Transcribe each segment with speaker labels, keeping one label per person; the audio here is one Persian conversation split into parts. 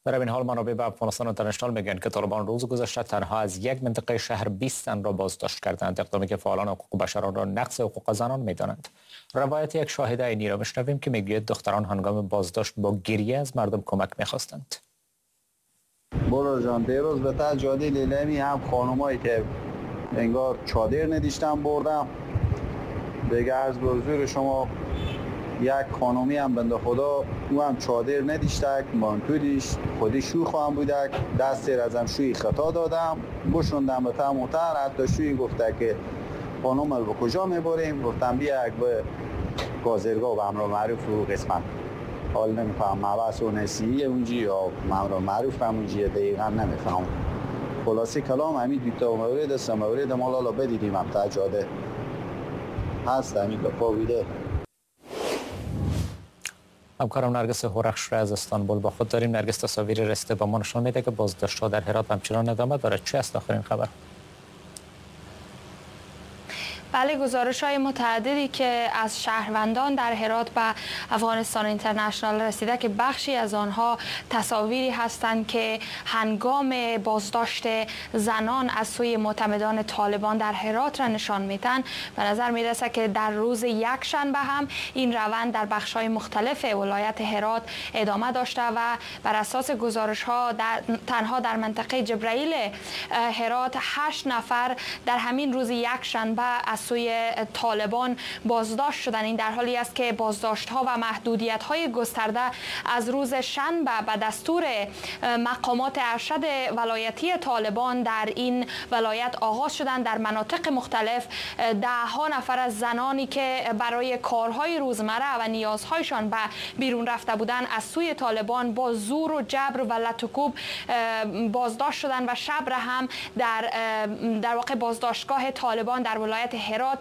Speaker 1: در این حال منابع به افغانستان اینترنشنال میگن که طالبان روز گذشته تنها از یک منطقه شهر 20 زن را بازداشت کردند، اقدامی که فعالان حقوق بشر را نقض حقوق زنان میدانند. روایت یک شاهد عینی را میشنویم که میگوید دختران هنگام بازداشت با گریه از مردم کمک میخواستند.
Speaker 2: برو جان، دیروز به تا جاده لیلمی هم خانمایی که انگار چادر نداشتن بردم. دیگه عرض به حضور شما یک خانومی هم بنده خدا او هم چادر نداشتک، مانتو داشت، خودی شوی خواهم بودک، دست ازم شوی خطا دادم، بشوندم به تموتر، حتی شوی گفته که خانوم به کجا میبریم؟ گفتم بیا یک به گازرگاه و امر معروف رو قسمت. حال نمیفهم مبحث و نسیه اونجی یا امر معروف هم اونجیه، دقیقا نمیفهم. خلاصه کلام همین دوتا مورد است، مورد ما لالا بدیدیم هم تا جاده هست همین گپا بوده.
Speaker 1: همکارم نرگس هورخش را از استانبول با خود داریم. نرگس، تصاویر رسیده با ما نشان میده که بازداشت‌ها در هرات همچنان ادامه دارد. چه است آخرین خبر؟
Speaker 3: بله، گزارش‌های متعددی که از شهروندان در هرات به افغانستان اینترنشنال رسیده که بخشی از آنها تصاویری هستند که هنگام بازداشت زنان از سوی معتمدان طالبان در هرات را نشان میدن. به نظر میرسه که در روز یکشنبه هم این روند در بخش‌های مختلف ولایت هرات ادامه داشته و بر اساس گزارش‌ها تنها در منطقه جبرائیل هرات 8 نفر در همین روز یکشنبه از سوی طالبان بازداشت شدن. این در حالی است که بازداشت‌ها و محدودیت‌های گسترده از روز شنبه به دستور مقامات ارشد ولایتی طالبان در این ولایت آغاز شدند. در مناطق مختلف ده ها نفر از زنانی که برای کارهای روزمره و نیازهایشان به بیرون رفته بودند از سوی طالبان با زور و جبر و لت و کوب بازداشت شدند و شب را هم در واقع بازداشتگاه طالبان در ولایت هرات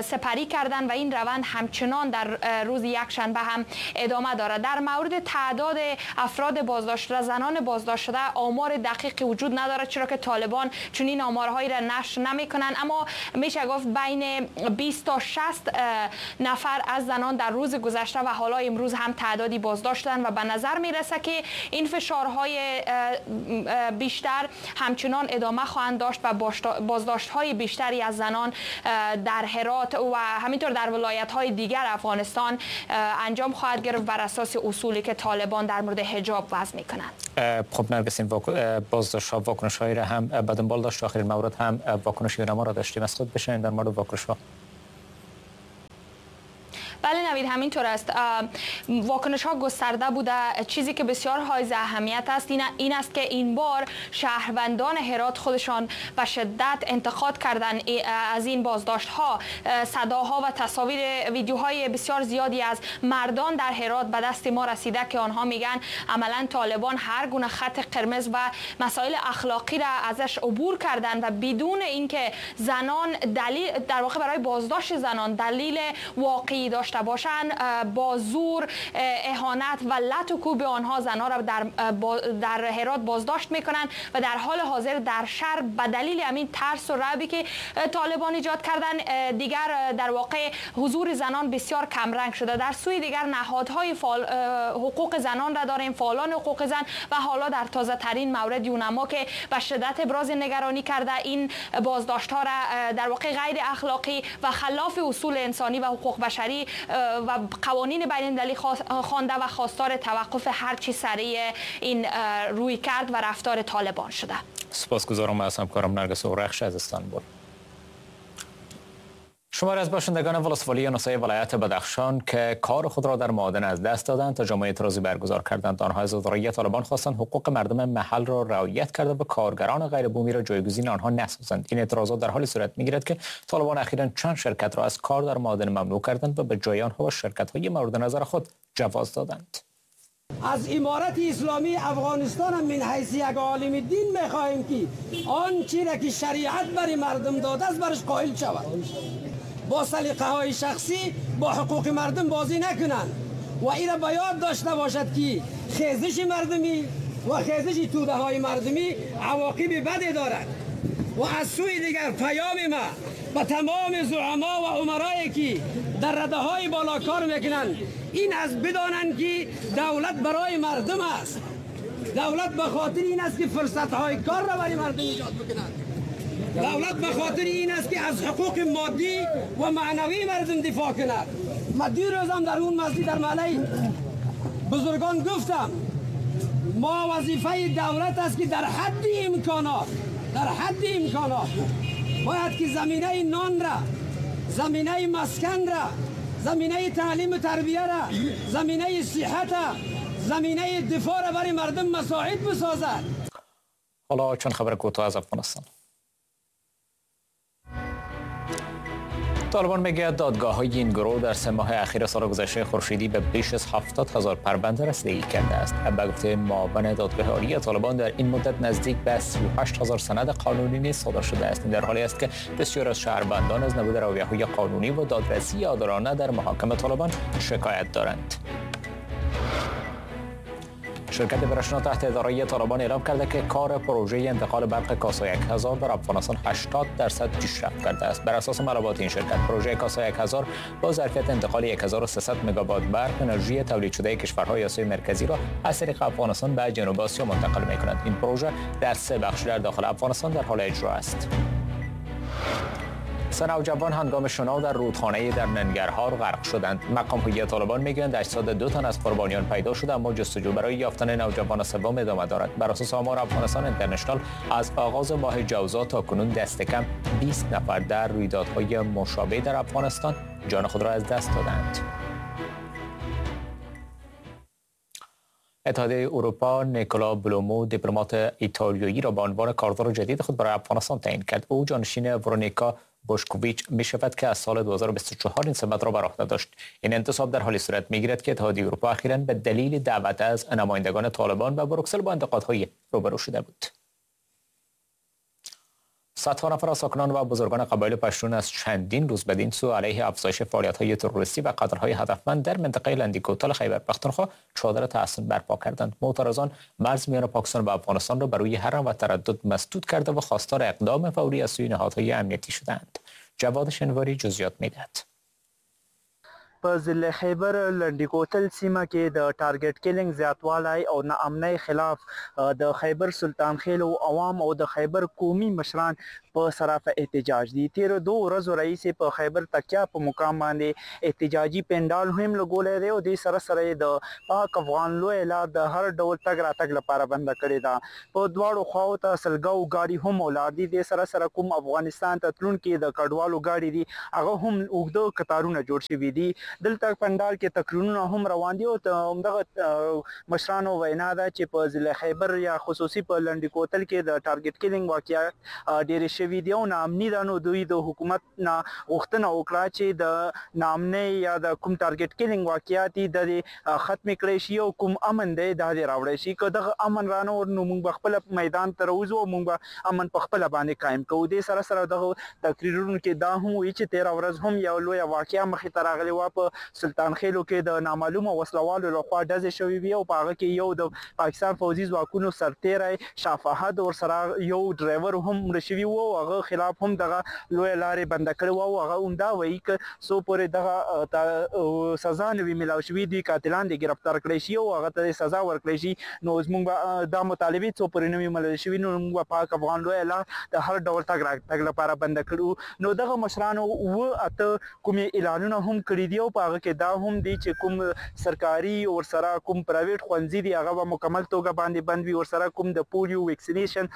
Speaker 3: سپری کردند و این روند همچنان در روز یکشنبه هم ادامه دارد. در مورد تعداد افراد بازداشت شده، زنان بازداشت شده، آمار دقیقی وجود ندارد، چرا که طالبان چنین آمارهایی را نشر نمی‌کنند، اما میشه گفت بین 20 تا 60 نفر از زنان در روز گذشته و حالا امروز هم تعدادی بازداشت شدند و به نظر میرسه که این فشارهای بیشتر همچنان ادامه خواهند داشت و بازداشت‌های بیشتری از زنان در هرات و همینطور در ولایت‌های دیگر افغانستان انجام خواهد گرفت بر اساس اصولی که طالبان در مورد حجاب وضع می‌کنند.
Speaker 1: خب نرگس، این بازداشت‌ها واکنش‌هایی را هم به دنبال داشت. آخرین مورد هم واکنش یونما را داشتیم. از خود بشنویم در مورد واکنش‌ها.
Speaker 3: بله نوید، همینطور است. واکنش ها گسترده بوده. چیزی که بسیار حائز اهمیت است این است که این بار شهروندان هرات خودشان به شدت انتقاد کردن از این بازداشت ها. صداها و تصاویر ویدیوهای بسیار زیادی از مردان در هرات به دست ما رسیده که آنها میگن عملا طالبان هر گونه خط قرمز و مسائل اخلاقی را ازش عبور کردن و بدون اینکه زنان دلیل، در واقع برای بازداشت زنان دلیل واقعی داشت باشن، با زور، اهانت و لت و کوب آنها زنها را در هرات بازداشت میکنن و در حال حاضر در شهر به دلیل همین ترس و رعبی که طالبان ایجاد کردن دیگر در واقع حضور زنان بسیار کمرنگ شده. در سوی دیگر نهادهای حقوق زنان را داریم، فعالان حقوق زن و حالا در تازه ترین مورد یونما که به شدت ابراز نگرانی کرده این بازداشت ها را در واقع غیر اخلاقی و خلاف اصول انسانی و حقوق بشری و قوانین بین المللی خوانده و خواستار توقف هرچی سریع این رویکرد و رفتار طالبان شده.
Speaker 1: سپاسگزارم از همکارم نرگس اورخش از استانبول. شماری از باشندگان ولسوالی نسای ولایت بدخشان که کار خود را در معادن از دست دادند تجمع اعتراضی برگزار کردند. آنها از اداره طالبان خواستند حقوق مردم محل را رعایت کرده و کارگران غیر بومی را جایگزین آنها نسازند. این اعتراضات در حالی صورت می‌گیرد که طالبان اخیراً چند شرکت را از کار در معادن ممنوع کردند و به جای آنها با شرکت‌های مورد نظر خود جواز دادند.
Speaker 4: از امارت اسلامی افغانستان هم من حیث یک عالم دین می‌خواهیم که آنچه را که شریعت برای مردم داده است برش قائل شود. با سلیقه های شخصی با حقوق مردم بازی نکنند و این را باید داشته باشد که خیزش مردمی و خیزش توده های مردمی عواقب بدی دارد. و از سوی دیگر پیام ما به تمام زعما و امرایی که در رده های بالا کار میکنند این از بدانند که دولت برای مردم است. دولت به خاطر این است که فرصت های کار را برای مردم ایجاد بکند. دولت به خاطر این است که از حقوق مادی و معنوی مردم دفاع کند. ما دیروز هم در اون مسجد در محله بزرگان گفتم ما وظیفه دولت است که در حد امکانات، در حد امکانات باید که زمینه نان را، زمینه مسکن را، زمینه تعلیم و تربیه را، زمینه صحت را، زمینه دفاع را برای مردم مساعد بسازد.
Speaker 1: حالا چند خبر کوتاه از افغانستان. طالبان میگه دادگاه های این گروه در 3 ماه اخیر سال گذشته خورشیدی به بیش از 70,000 پرونده رسیدگی کرده است. به گفته معاون دادگاه عالی طالبان در این مدت نزدیک به 38,000 سند قانونی نیز صادر شده است. این در حالی است که بسیار از شهروندان از نبود رویه‌های قانونی و دادرسی عادلانه در محاکم طالبان شکایت دارند. شرکت برشنا تحت اداره طالبان اعلام کرده که کار پروژه انتقال برق کاسا 1000 در افغانستان 80% پیشرفت کرده است. بر اساس معلومات این شرکت، پروژه کاسا 1000 با ظرفیت انتقال 1300 مگاوات برق انرژی تولید شده کشورهای آسیای مرکزی را از طریق افغانستان به جنوب آسیا منتقل می‌کند. این پروژه در 3 بخش در داخل افغانستان در حال اجرا است. سه نوجوان هنگام شنا در رودخانه در ننگرهار غرق شدند. مقام‌های طالبان میگویند اجساد 2 تن از قربانیان پیدا شده، اما جستجو برای یافتن نوجوان سوم ادامه دارد. بر اساس آمار افغانستان اینترنشنال از آغاز ماه جوزا تا کنون دست کم 20 نفر در رویدادهای مشابه در افغانستان جان خود را از دست دادند. اتحادیه اروپا نیکولا بلومو دیپلمات ایتالیایی را به عنوان کاردار جدید خود برای افغانستان تعیین کرد. او جانشین ورونیکا بوشکوویچ می شود که از سال 2024 این سمت را بر عهده داشت. این انتصاب در حالی صورت می گیرد که اتحادیه اروپا اخیراً به دلیل دعوت از نمایندگان طالبان و بروکسل با انتقادهای روبرو شده بود. صدها نفر از ساکنان و بزرگان قبایل پشتون از چندین روز بدین سو علیه افزایش فعالیت‌های تروریستی و قتل‌های هدفمند در منطقه لندی کوتل خیبر پختونخوا چادر تحصن برپا کردند. معترضان مرز میان پاکستان و افغانستان را بر روی هر و تردد مسدود کرده و خواستار اقدام فوری از سوی نهادهای امنیتی شدند. جواد شنواری جزئیات می‌دهد.
Speaker 5: په ضلع خیبر لنډي کوتل سیمه کې د ټارګټ کیلینګ زیاتوالی او ناامنۍ خلاف د خیبر سلطان خیلو عوام او د خیبر قومي مشران په صرافه احتجاج دي. تیرو 2 ورځو راهیسې په خیبر تکیا په مقام باندې احتجاجي پنډال هم لګولی دی او دې سره سره یې د پاک افغان لویه لار د هر ډول تګ راتګ لپاره بنده کړې ده. په دواړو خواو ته سلګاو ګاډي هم ولاړ دي. دې سره سره کوم افغانستان ته تلونکي د کډوالو ګاډي دي هغه هم اوږده کتارونه جوړ شوي دي. دلته پنډال کې تقریرونه هم روان دي او همدغه مشرانو وینا ده چې په ضلع خیبر یا خصوصي په لنډي کوتل کې د ټارګټ کیلینګ واقعیات ډېرې شوي دي او ناامني ده. نو دوی د حکومت نه غوښتنه وکړه چې د ناامنۍ یا د کوم ټارګټ کیلینګ واقعیات دي د دې ختمې کړی شي او کوم امن دی دا دې راوړی شي. که دغه امن رانه وړ نو موږ به خپله میدان ته راوځو او موږ به امن په خپله باندې قایم کوو. دې سره سره دغه تقریرونو کې دا هم وایي چې تېره ورځ هم یو لویه واقعه مخې ته راغلې وه. په سلطان خیلو کې د نامعلومو وسلوالو لخوا ډزې شوې وي او په هغه کې یو د پاکستان فوځي ځواکونو سرتېری شاه فهد ورسره یو ډرایور هم مړ شوي وو او هغه خلاف هم دغه لویه لارې بنده کړې وه او هغه هم دا وایي که څو پورې دغه سزا نه وي میلاو شوي دوی قاتلان دې ګرفتار کړی شي او هغه ته سزا ورکړی شي. نو زموږ به دا مطالبې څو پورې نه وي منل شوي نو موږ به پاک افغان لویه لار د هر ډول تګ راتګ لپاره بنده کړو. نو دغه مشرانو 7-8 کومې اعلانونه هم کړي دي او په هغه کې دا هم دي چې کوم سرکاري ورسره کوم پرایویټ ښوونځي دي هغه به مکمل توګه باندې بند وي، ورسره کوم د پولیو ویکسینیشن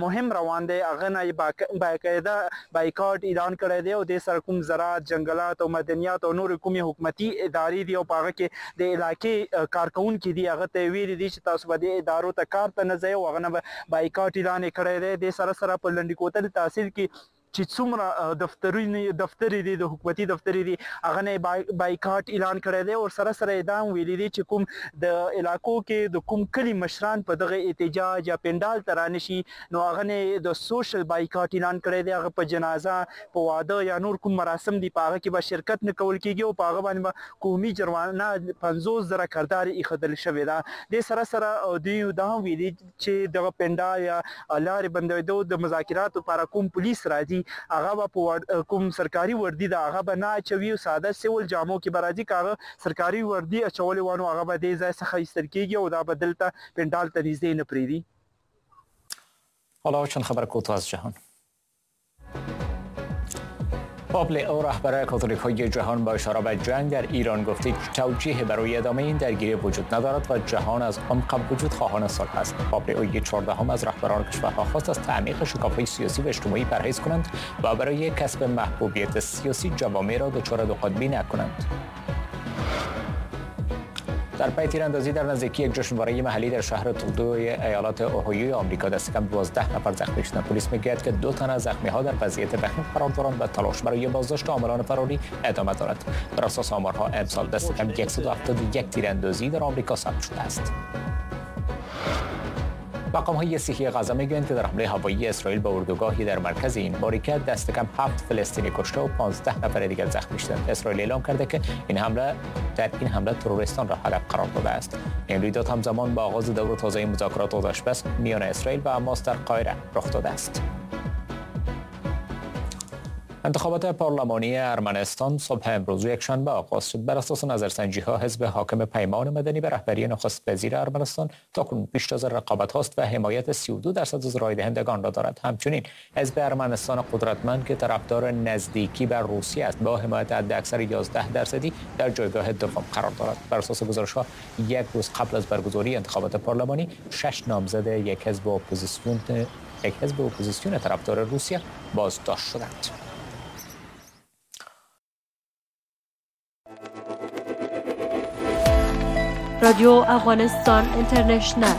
Speaker 5: مهم روان دی هغه نه یې باقاعده بایکاټ اعلان کړی دی او دې سره کوم زراعت، جنګلات او مدنیات او نورې کومې حکومتي ادارې دي او په هغه کې د علاقې کارکوونکي دي هغه ته یې ویلي دي چې تاسو به دې ادارو ته کار ته نه ځئ او هغه نه به بایکاټ اعلان یې کړی دی. دې سره سره په لنډي کوتل تحصیل کې چې څومره دفترې دي د حکومتي دفترې دي هغه نه بایکاټ اعلان کړی دی. ورسره سره یې دا هم ویلي دي چې کوم د علاقو کې د کوم کلي مشران په دغه احتجاج یا پنډال ته رانه شي نو هغه نه د سوشل بایکاټ اعلان کړی دی. هغه په جنازه، په واده یا نور کوم مراسم دي په هغه کې به شرکت نه کول کېږي او په هغه باندې به قومي جرمانه 50,000 کردار ایښودل شوې ده. دې سره سره دوی دا هم ویلي چې دغه پنډال یا لارې بندېدو د مذاکراتو لپاره کوم پولیس راځي هغه به په کوم سرکاري وردی ده هغه به نه اچوي او ساده سیول جامو کې به راځي. که هغه سرکاري وردی اچولې وه نو هغه به دې ځای څخه ایستل کېږي او دا به دلته پنډال ته نږدې نه پرېږدي.
Speaker 1: حالا چند خبر کوتاه از جهان. پاپ لئو رهبر کاتولیک‌های جهان با اشاره به جنگ در ایران گفته توجیه برای ادامه این درگیری وجود ندارد و جهان از عمق وجود خواهان صلح است. پاپ لئو 14 از رهبران کشورها خواست از تعمیق شکاف‌های سیاسی و اجتماعی پرهیز کنند و برای کسب محبوبیت سیاسی جوامع را دچار دوقطبی نکنند. در پی تیراندازی در نزدیکی یک جشنواره محلی در شهر تولدو ایالت اوهایو آمریکا دست کم 12 نفر زخمی شدند. پلیس میگوید که 2 تن از زخمی‌ها در وضعیت وخیم قرار دارند و تلاش برای بازداشت عاملان فراری ادامه دارد. بر اساس آمارها امسال دست کم 171 تیراندازی در آمریکا ثبت شده است. مقام‌های صحی غزه میگویند که در حمله هوایی اسرائیل به اردوگاهی در مرکز این باریکه دست کم 7 فلسطینی کشته و 15 نفر دیگر زخمی شدند. اسرائیل اعلام کرده که در این حمله تروریستان را هدف قرار داده است. این رویداد همزمان با آغاز دور تازه مذاکرات آتش‌بس میان اسرائیل و حماس در قاهره رخ داده است. انتخابات پارلمانی ارمنستان صبح امروز یکشنبه آغاز شد. بر اساس نظرسنجی‌ها حزب حاکم پیمان مدنی به رهبری نخست وزیر ارمنستان تاکنون پیشتاز رقابت هاست و حمایت 32% از رای دهندگان را دارد. همچنین حزب ارمنستان قدرتمند که طرفدار نزدیکی بر روسیه است با حمایت حداکثر 11% در جایگاه دوم قرار دارد. بر اساس گزارش‌ها یک روز قبل از برگزاری انتخابات پارلمانی 6 نامزد یک حزب اپوزیسیون طرفدار روسیه بازداشت شدند.
Speaker 6: رادیو افغانستان اینترنشنال.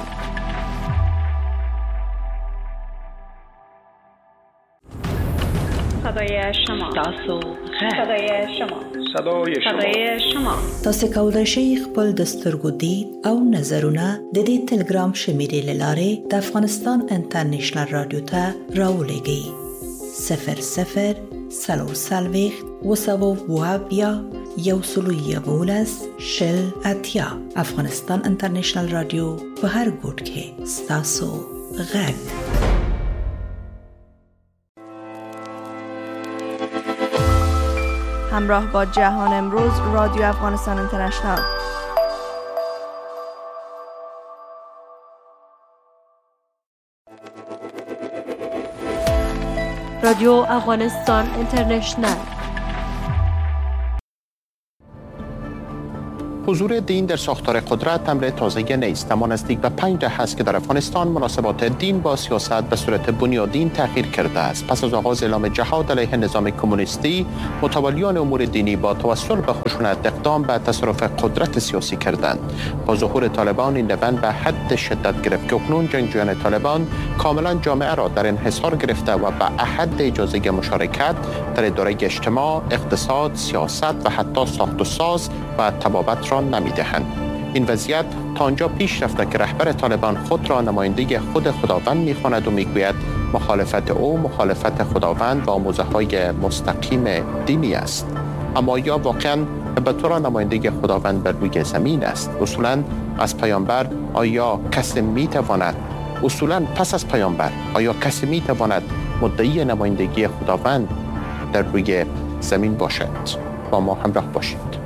Speaker 7: صدای شما، صدای شما، صدای شما، صدای شما.
Speaker 8: تاسو کولای شئ خپل د سترګو دید او نظرونه د دې تلګرام شمیرې لارې د افغانستان انټرنشنل رادیو ته راولېږئ. 00 44 270 111 80. افغانستان انټرنشنل رادیو په هر ګوټ کې ستاسو غږ.
Speaker 9: همراه با جهان امروز، رادیو افغانستان اینترنشنال.
Speaker 6: رادیو افغانستان اینترنشنال.
Speaker 10: حضور دین در ساختار قدرت امر تازه نیست، اما نزدیک به 5 دهه است که در افغانستان مناسبات دین با سیاست به صورت بنیادین تغییر کرده است. پس از آغاز اعلام جهاد علیه نظام کمونیستی، متولیان امور دینی با توسل به خشونت اقدام به تصرف قدرت سیاسی کردند. با ظهور طالبان این روند به حد شدت گرفت که اکنون جنگجویان طالبان کاملا جامعه را در انحصار گرفته و به احد اجازه مشارکت در اداره اجتماع، اقتصاد، سیاست و حتی ساخت و ساز و طبابت را نمیدهند. این وضعیت تا آنجا پیش رفته که رهبر طالبان خود را نماینده خود خداوند میخواند و میگوید مخالفت او مخالفت خداوند و آموزه‌های مستقیم دینی است. اما یا واقعا به طور نماینده خداوند بر روی زمین است؟ اصولاً از پیامبر آیا کسی میتواند پس از پیامبر آیا کسی میتواند مدعی نمایندگی خداوند در روی زمین باشد؟ با ما همراه باشید.